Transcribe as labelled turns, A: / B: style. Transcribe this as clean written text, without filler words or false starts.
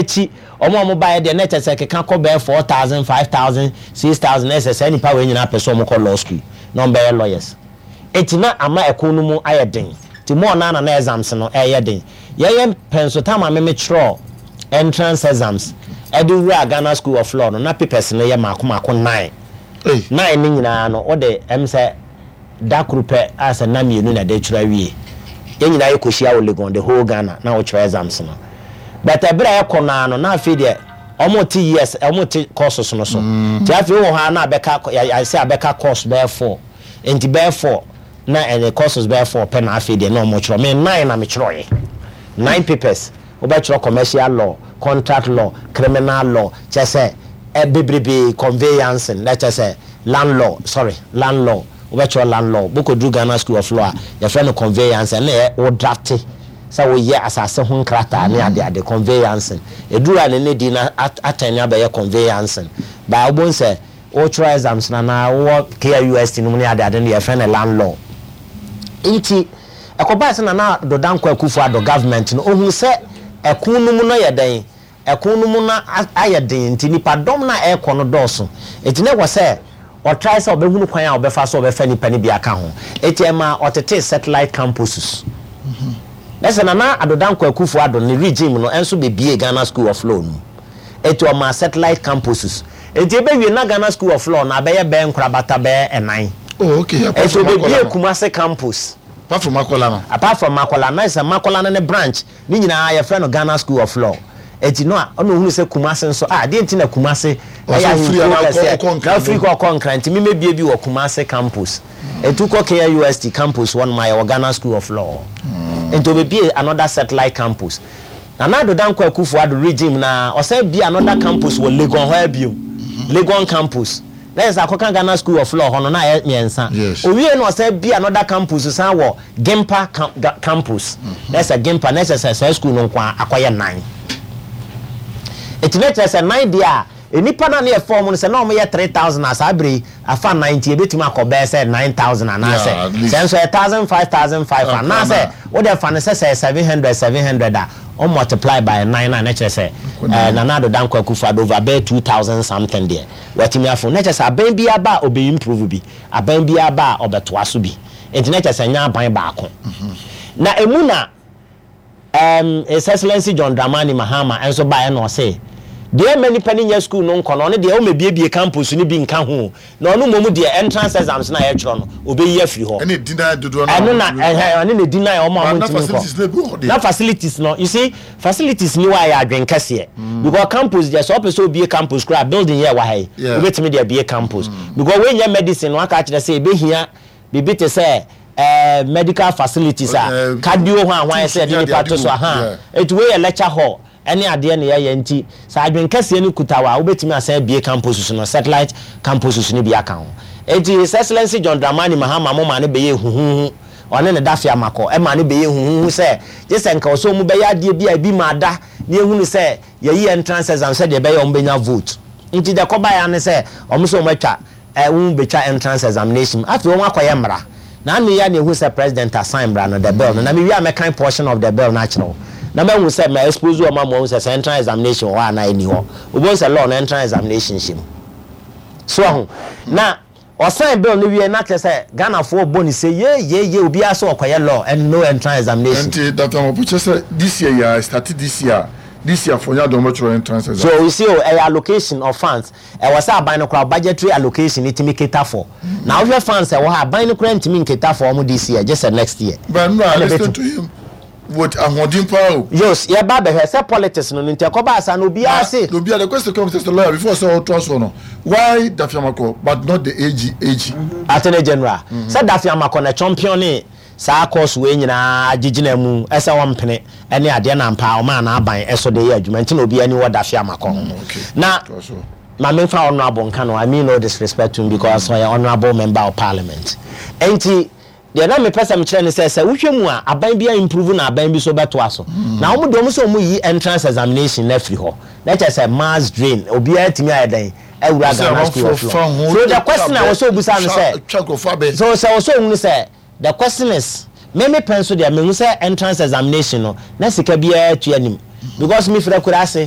A: akyi, wɔn a wɔbaeɛ deɛ na ɛkyɛ sɛ keka kɔ bɛyɛ 4,000, 5,000, 6,000. Na ɛsɛ saa nnipa wei nyinaa pɛ sɛ wɔkɔ law school na wɔbɛyɛ lawyers. Enti na ama ɛko no mu ayɛ den. Nti more no ara na na exams no ɛreyɛ den. Yɛyɛ pɛ nso, time a me metwerɛɔ entrance exams ɛde wuraa Ghana School of Law no, na papers no yɛ mmaako mmaako nine. Nine no nyinaa no, wode ɛm sɛ da koro pɛ a sɛ nna 2 na ɛde twerɛ awie. Yɛn nyinaa yɛkɔhyia wɔ Legon, the whole Ghana, na wotwerɛ exams no. But ɛberɛ a ɛkɔ no ara no, na afei deɛ wɔte years, wɔte courses no so. Nti afei wowɔ hɔ ara na abɛka, yɛayɛ sɛ abɛka course bɛyɛ four. Nti bɛyɛ four na ɛne courses bɛyɛ four pɛ na afei deɛ na wɔtwerɛ. Me nine na metwerɛeɛ. Nine papers. Wobɛtwerɛ commercial law, contract law, criminal law, kyerɛ sɛ ɛ bebrebee, conveyancing, na kyerɛ sɛ land law, sorry, land law, wobɛtwerɛ land law. Wokɔduru Ghana School of Law a, yɛfrɛ no conveyancing, ɛno na ɛyɛ wo drafte sɛ woyɛ asase ho nkrataa ne adeade, conveyancing. Ɛduru a na ne din no atɛne abɛyɛ conveyancing. But wobɛhu sɛ wotwerɛ exams no anaa wowɔ KIUST no mu ne adeade no, yɛfrɛ no land law. Nti ɛkɔbae sɛ Nana Addo Dankwa Akufo Addo government no, ohuu sɛ ɛko no mu no yɛ dɛn? Ɛko no mu no ayɛ den nti nnipadɔm no a ɛrekɔ no dɔɔso. Nti na ɛwɔ sɛ ɔtrae sɛ ɔbɛhunu kwan a ɔbɛfa so ɔbɛfa nnipa no bi aka ho. Nti ɛmaa ɔtetee satellite campuses. Na sɛ Nana Addo Dankwa Akufo Addo ne regime no nso bɛbiee Ghana School of Law no mu. Enti ɔmaa satellite campuses. Enti ebewie na Ghana School of Law no abɛyɛ bɛyɛ nkorabata bɛyɛ ɛnan.
B: Oh, okay. Apart
A: Enti
B: from Makola
A: obebie
B: no.
A: Kumasi campus.
B: Apart from Makola no.
A: Apart from Makola, na sɛ Makola no ne branch ne nyinaa yɛfrɛ no Ghana School of Law. Enti no a ɔna ohunu sɛ Kumasi nso, ah, deɛ nti na Kumasi
B: Ɔsɛ
A: ɛyɛ
B: ofiri
A: ahenkuro
B: anaa ɔkɔ
A: kɛseɛ.
B: ɔkɔ
A: Na
B: Nkran
A: ofiri
B: bom.
A: kɔ ɔkɔ Nkran, nti memmebie bi wɔ Kumasi campus. Enti wokɔ KNUST campus hɔnom a, yɛwɔ Ghana School of Law. Enti obebie another satellite campus. Nana Addo Dankwa Akufo Addo regime no ara, ɔsan bue another campus wɔ Legon hɔ ara bio, Legon campus. Na kyerɛ sɛ akɔka Ghana School of Law hɔ no, na ayɛ mmiɛnsa. Owiei no ɔsan bue another campus san wɔ Gimpa campus. Na kyerɛ sɛ Gimpa, na kyerɛ sɛ saa school no nko ara akɔyɛ nnan. Enti na kyerɛ sɛ nnan deɛ a, nnipa no a na yɛfa wɔn no, sɛ na wɔyɛ 3,000 a, saa berɛ yi, afa nnan nti ebetumi akɔ bɛyɛ sɛ 9,000 anaasɛ
B: Yeah, at least.
A: sɛ nso ɛyɛ thousand five thousand five
B: Ah,
A: anaasɛ
B: koraa
A: wode fa no sɛ sɛ ɛyɛ 700 700 a, wo multiply by nnan no a na kyerɛ sɛ
B: Ɛkɔ nine.
A: Nana Addo Dankwa Akufo-Addo over bɛyɛ 2,000 something deɛ watumi afo. Na kyerɛ sɛ aban biara ba a ɔbɛ improve bi, aban biara ba a ɔbɛtoa so bi. Nti na kyerɛ sɛ ɛnyɛ aban baako. Na emu na His Excellency John Dramani Mahama nso baeɛ na ɔse deɛ ɛmma nnipa no nnya sukuu no nkɔ no, ɔno deɛ ɔmmɛbuebue campus no bi nka ho o, na ɔno mmom deɛ entrance exams no a yɛtwerɛ no, ɔbɛyi afiri hɔ.
B: Ɛne deny dodoɔ no a
A: Ɛno na,
B: wɔntumi nkɔ.
A: ɛhɛn, ɔne na deny wɔn a
B: But na
A: wɔntumi nkɔ.
B: facilities no bi wɔ hɔ deɛ.
A: Na facilities no, you see, facilities ni hɔ a ɛyɛ adwene kɛseɛ. Because campus deɛ, sɛ wopɛ sɛ wobue campus koraa a, building yi a ɛwɔ ha yi, wobɛtumi de abue campus. Because wei nyɛ medicine no, aka akyerɛ sɛ ɛbɛhia biribi te sɛ medical facilities a cardio ho a hwan sɛ yɛde nipa to so aha. Eti wei yɛ lecture hall ɛne adeɛ na yɛyɛ, nti sɛ adwene kɛseɛ no kuta wo a, wobɛtumi asan abue campuses no, satellite campuses no bi aka ho. Enti His Excellency John Dramani Mahama mo maa no bɛyɛɛ huhuuhu, ɔne ne Dafe Amakɔ ɛmaa no bɛyɛɛ huhuuhu sɛ gye sɛ nka ɔsɛ wɔn bɛyɛ adeɛ bi a ebi maa da na yɛhunu sɛ yɛyi entrance exam sɛdeɛ ɛbɛyɛ wɔn bɛnya vote. Nti deɛ ɛkɔbaeɛ ara ne sɛ wɔn sɛ wɔn atwa wɔn betwa entrance examination mu. Afei wɔn akɔyɛ mmara. Na ano yi ara na ehu sɛ president asign mmara no, the bill no. Na mewie a mɛkan portion of the bill no akyerɛ wo. Na mahu sɛ ma expose wɔn ama wɔahu sɛ sɛ entrance examination wɔ hɔ anaa ɛnni hɔ. Wobɛhu sɛ law no entrance examination hyɛ mu. So wahu? Na ɔsign bill no wie na kyerɛ sɛ Ghanafoɔ rebɔ ne se yee yee yee, obiara sɛ ɔkɔyɛ law and no entrance examination.
B: Nti Doctor Amopo kyerɛ sɛ this year yi ara, ɛstarte this year a, this year foɔ nyɛ adeɛ wɔbɛtwerɛ entrance exam.
A: So you see o, ɛyɛ allocation of funds. Ɛwɔ sɛ aban no koraa budgetary allocation no tumi cater for. Na wohwɛ funds a ɛwɔ hɔ a, aban no koraa ntumi ncater for wɔn this year, gye sɛ next year.
B: But nnora, I
A: Ɛna
B: listen
A: ɛbɛtu.
B: to him with ahoɔden paa o.
A: Yos, yɛba abɛhwɛ sɛ politics no no nti ɛkɔbaa saa no obiara
B: Na
A: se.
B: na obiara, the question comes as a lawyer before sɛ ɔtoa soɔ no, why Dafiamakɔ but not the AG, AG?
A: Attorney General, sɛ Dafiamakɔ na ɛchampione saa course wei nyinaa gyegyina mu sɛ ɔmpene ne adeɛ na ampa ɔmaa n'aban so de yɛ adwuma nti na obiara ani wɔ Dafe Amakɔ ho. Na ma memfa honourable nka no, I mean no disrespect to him because ɔyɛ honourable member of parliament. Nti deɛ na mepɛ sɛ mekyerɛ ne sɛ, sɛ wohwɛ mu a, aban bi a improve na aban bi so bɛtoa so. Na wɔn deɛ wɔn sɛ wɔn yi entrance examination no afiri hɔ. Na kyerɛ sɛ mass drain, obiara atumi ayɛ dɛn awura Ghana School of Law. So the question a wɔsɛ obisa no sɛ, so sɛ wɔsɛ ohunu sɛ The question is, me me pɛ nso deɛ mehu sɛ entrance examination no na sika biara tua nim because me firi akuraase.